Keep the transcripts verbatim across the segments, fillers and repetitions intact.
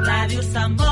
Radio Samboy.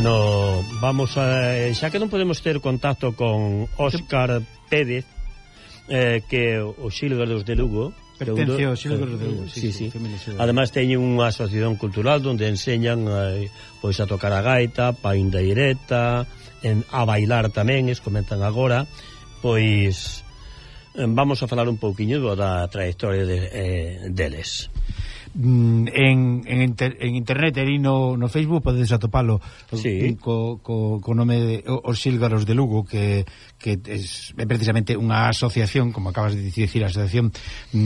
Bueno, vamos a... Xa que non podemos ter contacto con Óscar Pérez, eh, que o Xílgaros de Lugo. Pertence ao Xílgaros de Lugo, sí, sí, sí, sí. Ademais teñen unha asociación cultural onde enseñan eh, pois a tocar a gaita, pandeireta, en, a bailar tamén, es comentan agora. Pois eh, vamos a falar un pouquiño da trayectoria de, eh, deles. En, en, inter, en internet e no, no Facebook podedes atopalo, sí, co, co, co nome de Os Xílgaros de Lugo, que, que es, é precisamente unha asociación, como acabas de dicir, a Asociación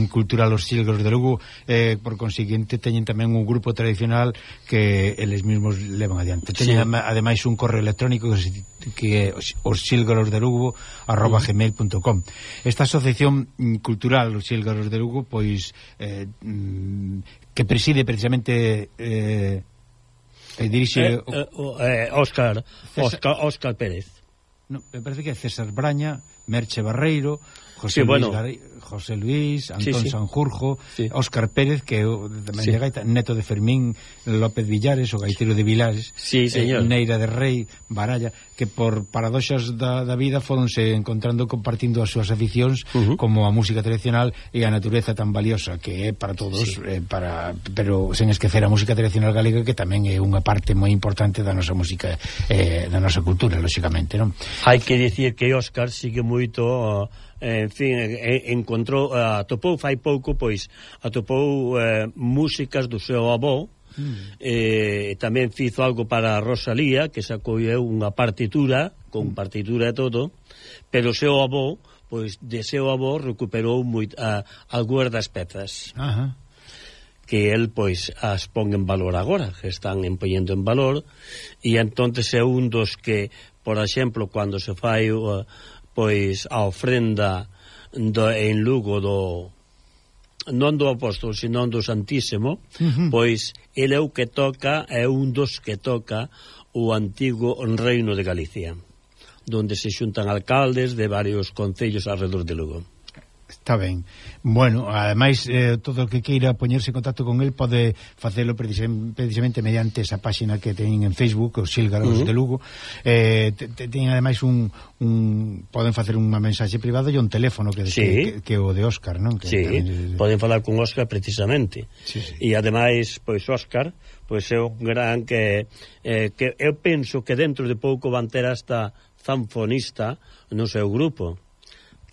Cultural Os Xílgaros de Lugo. Eh, por consiguiente teñen tamén un grupo tradicional que eles mesmos levan adiante. Teñen, sí, ademais un correo electrónico que é os xílgaros de Lugo arroba gmail punto com. Esta asociación cultural Os Xílgaros de Lugo, pois eh, que preside precisamente eh, e dirixe eh, eh, Óscar Óscar Óscar Pérez. No, me parece que é César Braña, Merche Barreiro, José, sí, Luis, bueno. Garay, José Luis, Antón sí, sí. Sanjurjo, sí. Óscar Pérez, que é tamén sí. de gaita, neto de Fermín López Villares, o gaiteiro de Vilares, sí, señor. Eh, Neira de Rei, Baralla, que por paradoxas da, da vida foronse encontrando, compartindo as súas aficións, uh -huh. como a música tradicional e a natureza tan valiosa que é para todos, sí. eh, para, pero sen esquecer a música tradicional galega, que tamén é unha parte moi importante da nosa música, eh, da nosa cultura, lóxicamente, non? Hai que dicir que Óscar sigue moito... en fin, encontrou, atopou fai pouco, pois, atopou eh, músicas do seu avó, mm. eh, tamén fizo algo para Rosalía, que sacou unha partitura, con partitura e todo, pero o seu avó, pois, de seu avó recuperou moit, a, algunhas das pezas. Ajá. Que el, pois, as pon en valor agora, que están empoñendo en valor, e entonces é un dos que, por exemplo, cando se fai... Uh, pois a ofrenda do, en Lugo do non do apóstolo, sino do Santísimo, uh -huh. pois ele é o que toca, é un dos que toca o antigo Reino de Galicia, donde se xuntan alcaldes de varios concellos alrededor de Lugo. Está ben. Bueno, ademais, eh, todo o que queira poñerse en contacto con el pode facelo precisamente mediante esa páxina que teñen en Facebook, os Sílgaros uh -huh. de Lugo. Eh, teñen ademais un, un... poden facer unha mensaxe privada e un teléfono que, sí. que, que, que o de Óscar, non? Que sí, tamén... poden falar con Óscar precisamente. Sí, sí. E ademais, pois Óscar, pois é un gran que, eh, que eu penso que dentro de pouco van ter hasta zanfonista no seu grupo,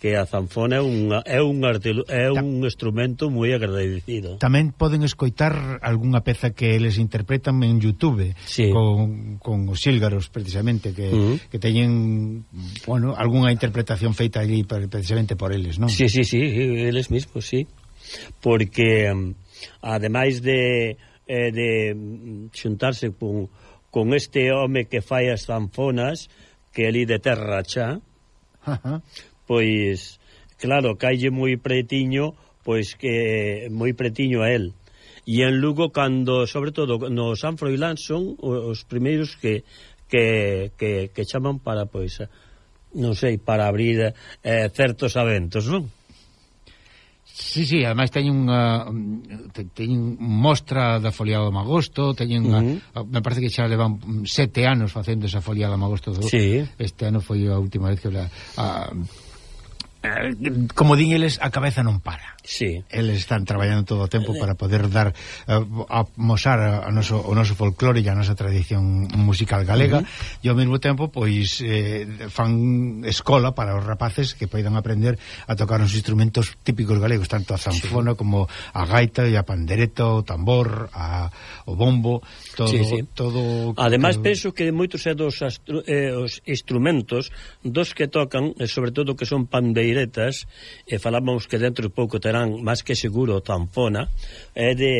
que a zanfona é un, é un, artelo, é un instrumento moi agradecido. Tamén poden escoitar algunha peza que eles interpretan en YouTube, sí. con, con os Sílgaros, precisamente, que, uh -huh. que teñen, bueno, algunha interpretación feita allí precisamente por eles, non? Sí, sí, sí, eles mismos, sí. Porque, um, ademais de, eh, de xuntarse con, con este home que fai as zanfonas, que é ali de Terra Chá, uh -huh. pois, claro, caille moi pretiño, pois que moi pretiño a él. E en Lugo, cando, sobre todo, no San Froilán son os primeiros que, que, que, que chaman para, pois, non sei, para abrir eh, certos eventos, non? Sí, sí, ademais teñen unha teñen mostra da foliada do Magosto, teñen unha, uh -huh. me parece que xa levan sete anos facendo esa foliada do Magosto. Sí. Este ano foi a última vez que la, a, como din eles, a cabeza non para. Sí. Eles están traballando todo o tempo para poder dar uh, a mosar a, a noso, o noso folclore e a nosa tradición musical galega, uh -huh. e ao mesmo tempo pois eh, fan escola para os rapaces que poidan aprender a tocar os instrumentos típicos galegos, tanto a zanfona sí. como a gaita e a pandereta, o tambor, a, o bombo, todo, sí, sí. todo. Ademais todo... penso que moitos é dos astru, eh, os instrumentos dos que tocan, e sobre todo que son pandeiretas, e falamos que dentro de pouco terán máis que seguro zanfona, é de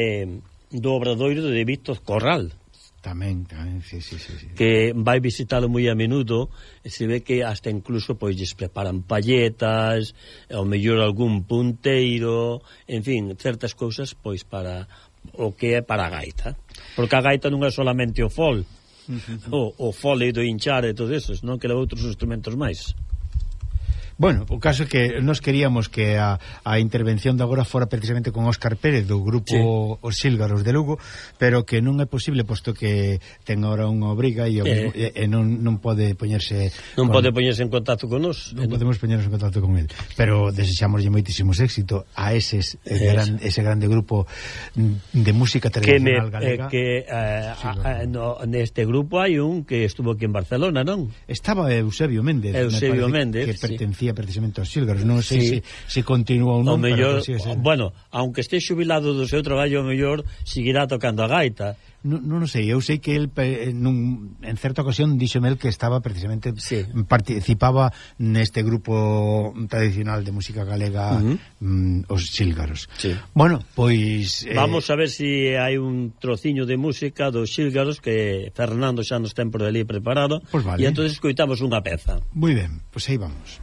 do obradoiro de Víctor Corral. Tamén, tamén, sí, sí, sí, sí. Que vai visitalo moi a menudo, e se ve que hasta incluso pois lles preparan palletas, ao mellor algún punteiro, en fin, certas cousas pois para o que é para a gaita. Porque a gaita non é solamente o fol, uh -huh. o, o fole do hinchar e todo eso, non que leva outros instrumentos máis. Bueno, o caso é que nós queríamos que a, a intervención de agora fora precisamente con Óscar Pérez do grupo sí. Os Sílgaros de Lugo, pero que non é posible posto que ten agora unha obriga e, eh. e, e non, non pode poñerse non con, pode poñerse en contacto con nós, non podemos poñernos en contacto con él, pero desexamoslle moitísimos éxito a eses eh, gran, ese grande grupo de música tradicional que me, galega. Eh, que eh, sí, a, a, no, neste grupo hai un que estuvo aquí en Barcelona, non? Estaba Eusebio Méndez, Eusebio Méndez, que sí. pertencía precisamente aos Sílgaros, non sei sí. se, se continúa ou non, o mellor, pero sí, bueno, aunque este xubilado do seu traballo, o mellor seguirá tocando a gaita. Non, non sei, eu sei que el nun, en certa ocasión díxome el que estaba precisamente sí. participaba neste grupo tradicional de música galega, uh -huh. mm, os Sílgaros. Sí. Bueno, pois eh... vamos a ver se si hai un trociño de música dos Sílgaros que Fernando xa nos ten por ali preparado, pues vale. E entonces escoitamos unha peza. Moi ben, pois aí vamos.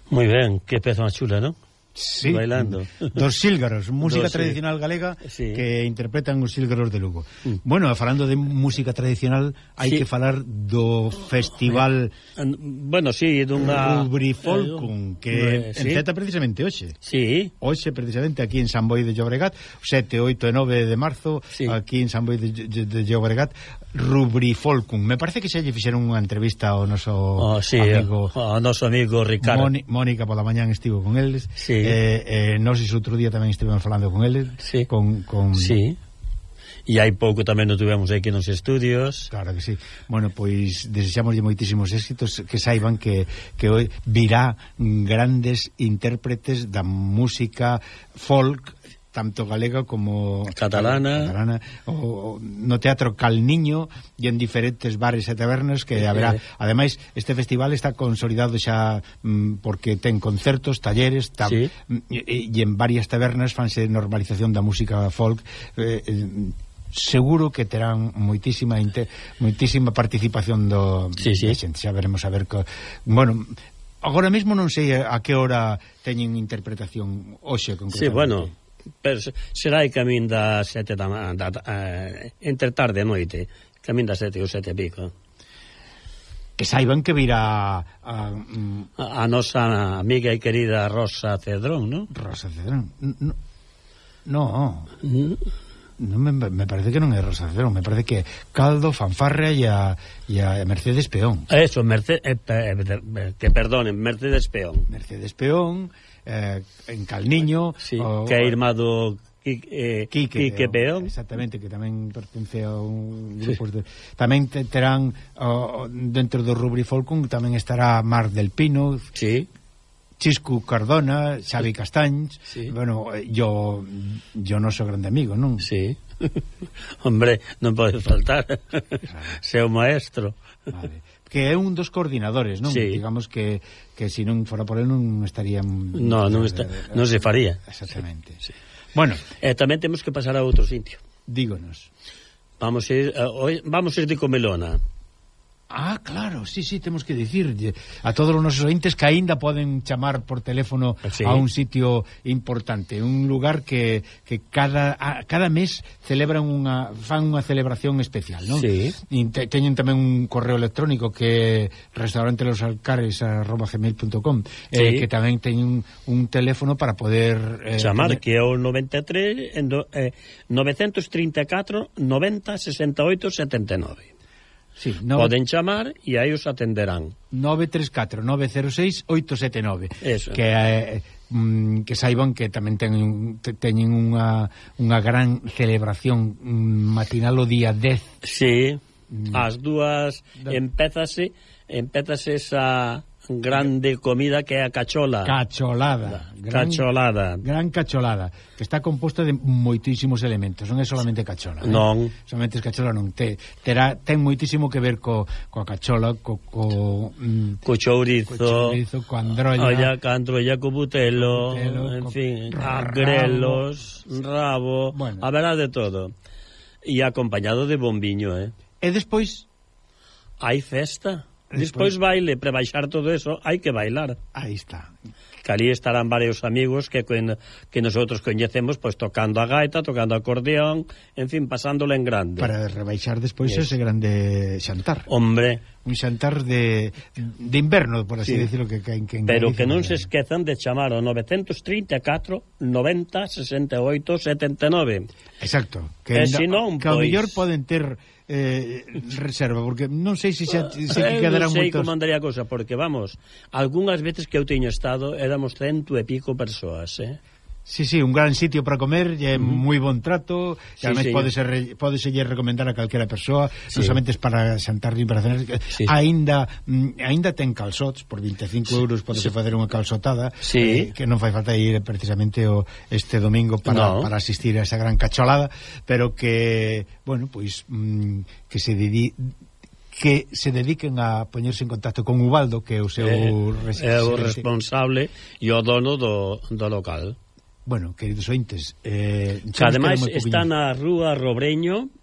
Moi ben, que peza máis chula, non? Sí, bailando. Dos sílgaros, música dos, tradicional sí. galega sí. que interpretan os sílgaros de Lugo. Mm. Bueno, falando de música tradicional, hai sí. que falar do festival bueno, sí, dunha Rubrifolcum, que eh, sí. enceta precisamente hoxe. Sí. Hoxe precisamente aquí en San Boi de Llobregat, sete, oito e nove de marzo, sí. aquí en San Boi de, de, de Llobregat, Rubrifolcum. Me parece que xa lle fixeron unha entrevista ao noso oh, sí, amigo, ao noso amigo Ricardo. Moni, Mónica pola mañán estivo con eles. Sí. Eh, eh, nós ese outro día tamén estivemos falando con eles. Sí. Con, con... Sí. E hai pouco tamén nos tuvemos aquí nos estudios. Claro que sí. Bueno, pois desexamos moitísimos éxitos, que saiban que, que hoy virá grandes intérpretes da música folk, tanto galega como catalana, catalana o, o, no Teatro Calniño e en diferentes bares e tabernas que haberá. Eh, ademais, este festival está consolidado xa mm, porque ten concertos, talleres tab, sí. e, e en varias tabernas fanse normalización da música folk. eh, eh, seguro que terán moitísima inter, moitísima participación do sí, sí. xente. Xa veremos a ver co, bueno, agora mesmo non sei a que hora teñen interpretación hoxe concretamente. Sí, bueno, pero será aí camín da sete da, da, da uh, entre tarde e noite, camín da sete ou sete e pico. Que saiban que virá a, a, a nosa amiga e querida Rosa Cedrón, non? Rosa Cedrón. No, no. Mm. No me, me parece que non é Rosa Cedrón, me parece que Caldo, Fanfarria e a, e a Mercedes Peón. Eso, Mercedes, eh, eh, que perdonen, Mercedes Peón. Mercedes Peón, eh, en Calniño, sí, o, que é irmado eh, Quique, Quique Peón. Exactamente, que tamén pertence a un grupo sí. de, tamén te, terán oh, dentro do Rubrifolcum tamén estará Mar del Pino. Sí. Chiscu Cardona, Xavi Castañs, sí. bueno, yo yo non sou grande amigo, non? Sí. Hombre, non pode faltar. Seu maestro. Vale. Que é un dos coordinadores, non? Sí. Digamos que que se non fora por él non estaría No, non está, non se faría. Exactamente. Sí. Bueno, eh, tamén temos que pasar a outro sitio. Dígonos. Vamos a ir uh, hoy, vamos a ir de Comelona. Ah, claro, sí, sí, temos que dicirlle a todos os nosos ointes que aínda poden chamar por teléfono sí. a un sitio importante, un lugar que, que cada, a, cada mes celebran unha, fan unha celebración especial, non? Sí. E te, teñen tamén un correo electrónico que é restaurantelosalcares arroba gmail punto com sí. eh, que tamén teñen un, un teléfono para poder eh, chamar, que é o noventa e tres eh, novecentos trinta e catro noventa sesenta e oito setenta e nove. Sí, nove... Poden chamar e aí os atenderán. nove tres catro nove cero seis oito sete nove. Eso. Que eh, mm, que saiban que tamén teñen teñen unha unha gran celebración matinal o día dez. Sí. Mm. As dúas da... empézase empézase esa grande comida que é a cachola. Cacholada. Gran, cacholada. Gran cacholada, que está composta de moitísimos elementos, non é solamente cachola. Non. Eh? Solamente es cachola non. Te, terá, ten moitísimo que ver co, coa cachola, co, co, mm, co chourizo, co chourizo, co androlla, olla, co androlla, co butelo, butelo en co fin, rabo, grelos, rabo, bueno. Haberá de todo. E acompañado de bombiño, eh? E despois hai festa. Despois baile, para baixar todo eso hai que bailar. Aí está. Que ali estarán varios amigos que que nosotros coñecemos, pois pues, tocando a gaita, tocando a acordeón, en fin, pasándolo en grande. Para rebaixar despois yes. ese grande xantar. Hombre, un xantar de de inverno, por así sí. decirlo, que, que, que pero que non se esquezan de chamar ao novecentos trinta e catro noventa sesenta e oito setenta e nove. Exacto. Que, e se non, que ao mellor poden ter eh, reserva, porque non sei se xa se eh, quedarán moitos. Non sei moitos... como andaría a cosa, porque vamos, algunhas veces que eu teño estado éramos cento e pico persoas, eh? Sí, sí, un gran sitio para comer, é mm. moi bon trato, e sí, además sí. pode ser pode ser recomendar a calquera persoa, sí. non somente para xantar nin para cenar, sí. aínda aínda ten calzots por vinte e cinco euros, pode sí. facer unha calzotada, sí. eh, que non fai falta ir precisamente o este domingo para, no. para asistir a esa gran cacholada, pero que, bueno, pois mm, que se dedi que se dediquen a poñerse en contacto con Ubaldo, que é o seu eh, é o responsable e o dono do, do local. Bueno, queridos ointes, eh, que ademais está na rúa Robreño,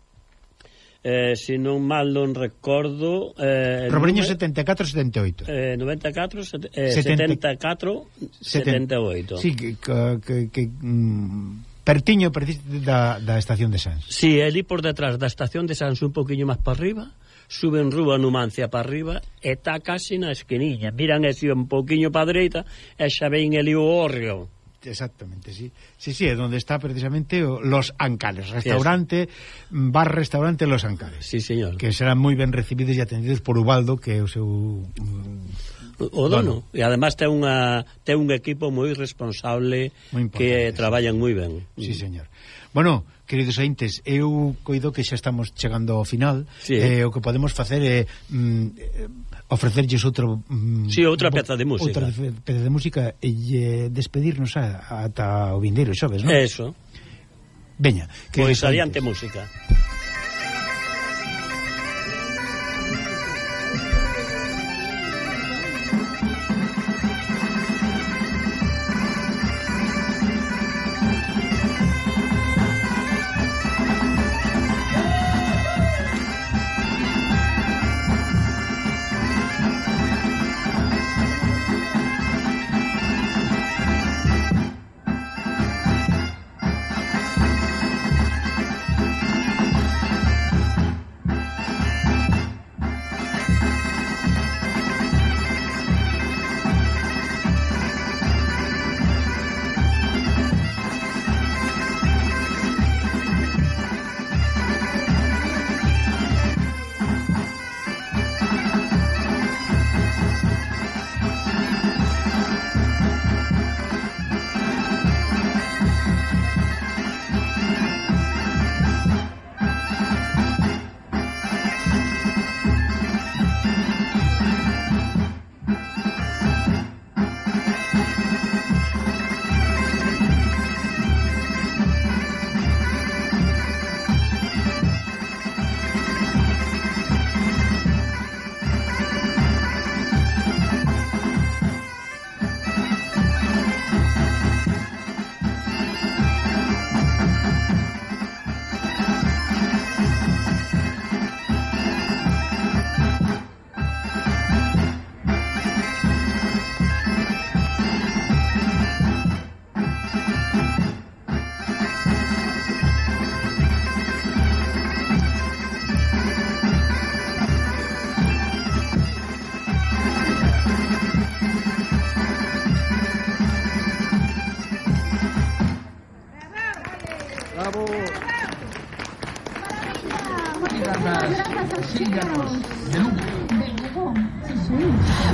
Eh, se non mal non recordo eh, Robreño setenta e catro setenta e oito eh, noventa e catro eh, setenta e catro setenta e oito Sí, que, que, que mm, pertiño da, da estación de Sans. Sí, ali por detrás da estación de Sans un poquinho máis para arriba, suben rúa Numancia para arriba e está casi na esquiniña, miran ese un poquinho para dereita e xa ven ali o hórreo. Exactamente, sí. Sí, sí, é onde está precisamente o, Los Ancares, restaurante, yes. bar restaurante Los Ancares. Sí, señor. Que serán moi ben recibidos e atendidos por Ubaldo, que é o seu um, o dono. E además ten unha ten un equipo moi responsable que traballan moi ben. Sí, señor. Bueno, queridos ointes, eu coido que xa estamos chegando ao final. Sí. Eh, o que podemos facer é mm, ofrecerlles outro mm, sí, outra peza de música outra peza de música e eh, despedirnos a, ata o vindeiro xoves, non? Eso. Veña, pois adiante música.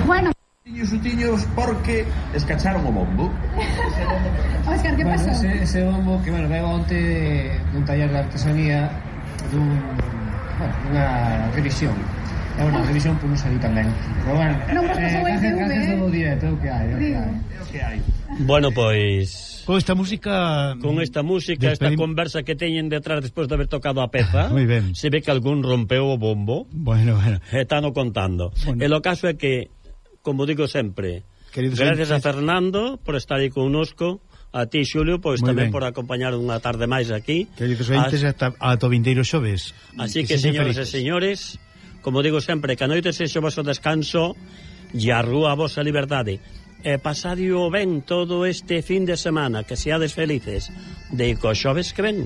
Bueno, Tiños sutiños porque escacharon o bombo. Óscar, que bueno, pasou? Ese, ese bombo que, bueno, veo onte dun taller de artesanía dun, bueno, unha revisión. É unha revisión por non salir tan ben. Pero bueno, Non vos pasou eh, a I T V, gracias eh? todo o directo, é o que hai, é o que hai. É o que hai. Bueno, pois con esta música con esta música, despedim... esta conversa que teñen detrás despois de haber tocado a peza, Muy ben. se ve que algún rompeu o bombo. Bueno, bueno. Están contando. Bueno. E o caso é que, como digo sempre, Queridos gracias entes... a Fernando por estar aí connosco, a ti, Xulio, pois Muy tamén ben. por acompañar unha tarde máis aquí. Queridos ointes, As... ata a vindeiro xoves. Así que, señores e señores, como digo sempre, que a noite sexa o vosso descanso e a rúa a vosa liberdade. E pasadio ben todo este fin de semana, que seades felices de co xoves que ven.